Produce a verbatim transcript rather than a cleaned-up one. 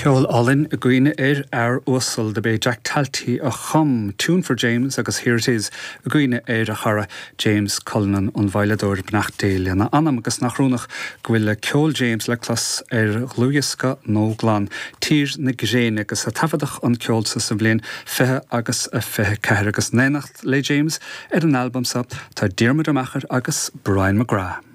Ceol álainn i gcuimhne ar fhear uasal dob é Jack Talty a chum Tune for James agus Here It Is i gcuimhne ar a chara James Cullinan an veidhleadóir beannacht Dé lena anam agus nach ionadh go bhfuil le ceol James le clos ar dhlúthdhiosca Nó Glan Tír na Gréine agus a taifeadadh an ceol sa sa bhliain fiche agus a fiche ceathair agus in éineacht le James ar an albam seo tá Diarmuid Ó Meachair agus Brian McGrath.